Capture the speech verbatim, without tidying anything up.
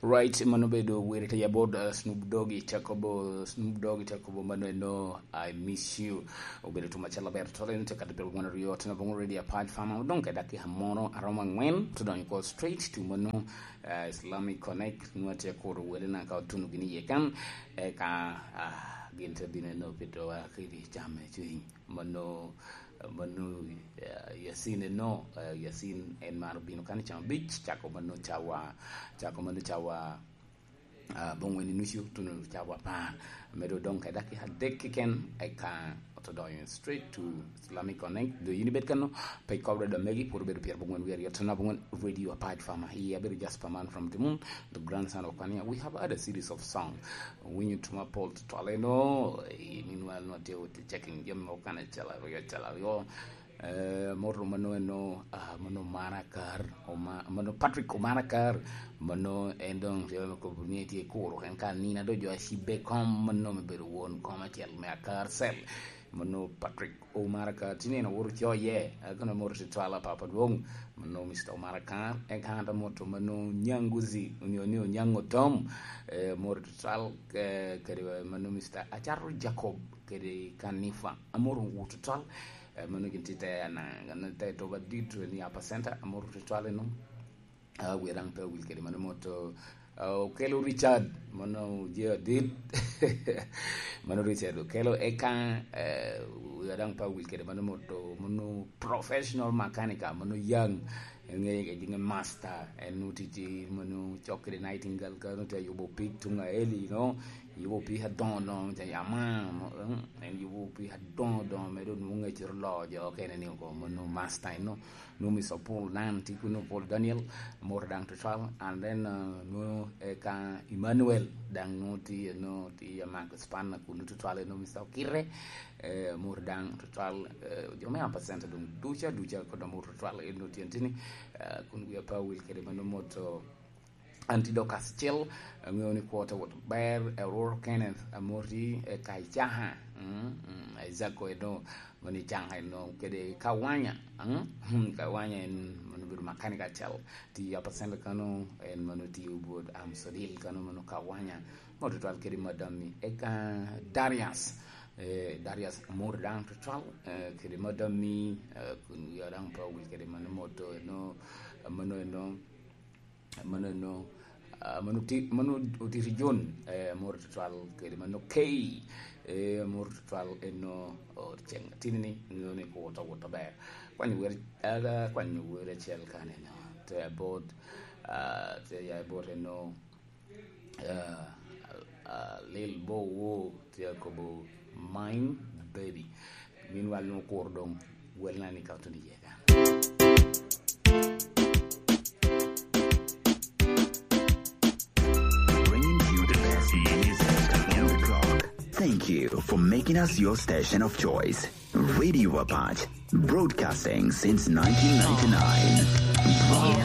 Right, mano obedo wer i te yabot, uh, Snoop Doggy, te kobo, Snoop Doggy te kobo mano eno, "I miss you." Obedo tum acel aber, tole ni te kati piro gwen aryo, tena bongo ready apart fama, odong ke dakika mono aromo angwen, to donyo ko straight to mano, uh, Islamic Connect, nwa te kuro wele na ka otuno gini ye kan, eka, uh, gin te bino eno pito wa kidi jam me cwiny. Mano, mano, eh, Yasin eno, eh, Yasin en maro bino kan i camo bic, cako mano cawa, cako mano cawa, ah, bongwen i nucu, tuno cawa apar. Medo odong ka dakika adek keken, eka oto donyo straight to Islamic Connect. Do yin ibed kano, pe ikobra da megi, pwod obedo pyer bongwen wi aryo, tena bongwen Radio Apart Farmer. Iya, abedo Jasper Man from the Moon, the grandson of Kwania. We have had a series of song. Winyo tuma pol tutwal eno, eh, meanwhile nwa tye checking jami mo kan acel aryo, acel aryo. Eh, moto mano eno, ah, mano Omara Kar, Oma-, mano Patrick Omara Kar, mano en dong tye me kobo ni tye kuro, en ka nina do jo acibbe kom, mano me bedo won kom acel me Akar Cell. Mano Patrick Omara Kar, tye nino woro coye, akono moto tutwal a papa dwong, mano Mister Omara Kar, en ka anta moto mano Nyanguzi, onyo ni Onyango Tom, eh, moto tutwal, eh, kadi mano Mister Acato Jacob, kadi Kanifa, amoto tutwal, eh, mano gin tye te ana, ana te toba dit ni apa center, amoto tutwal eno. Ah, wi daŋ pe owil kede mano moto, ah, Okelo Richard, mano je adit. Mano Richard Okelo, eka, eh, wi daŋ pe owil kede mano moto, mano professional mechanic, mano Yang, ŋe, ŋe master, en oti ti mano cok kede Nightingale, ka nute yubo pig tuŋ aeli, no, yubo pig adoŋo doŋo, te yama, mo, mm, en yubo pig adoŋo doŋo, medo nwoŋo ŋecoro loo jo okene ni oko, mano master, no. Nwoŋo Mister Paul Nan tye kuno, Paul Daniel, moto daŋ tutwal, and then, uh, nwoŋo, eh, ka Emmanuel daŋ nwoŋo tye, nwoŋo tye Mark Spanner kuno tutwal, nwoŋo Mister Okire, eh, moto daŋ tutwal, eh, jo me Ampa Center doŋ duca, duca kod moto tutwal, en nwoŋo tye tini, eh, kun wi apa wil kede mano moto, Antidokas Cel, aŋeo ni kwo te wot ber, Aurora Kenneth, amoti, eh, Kaicaha, mm, mm, Isaac Oedo, mano Icaha eno, kede Kawanya, mm, mm, Kawanya en mano bedo makanika acel, tiyo apa center kano, en mano tiyo bot Amsodil kano, mano Kawanya, mo tutwal kede madam-mi, eka Darius, eh, Darius amoti daŋ tutwal, eh, kede madam-mi, eh, kun wiya daŋ pe owil kede mano moto eno, mano eno, mano eno, ah, mano ti-, mano otito John, eh, amor tutwal kede mano Kay, eh, amor tutwal eno, oh, ceng atini ni, ŋeo ni kwo to wot aber. Kwanyo wer, aga, kwanyo wer acel kan eno, te abot, ah, te ya abot eno, ah, ah, Lil Bo Wo, tye akobo Mine Baby. Meanwhile, nwoŋo kuro doŋ welna ni ka otuno iye kan. Bringing you the best music on the clock. Thank you for making us your station of choice. Radio Apache, broadcasting since nineteen ninety-nine. Bringing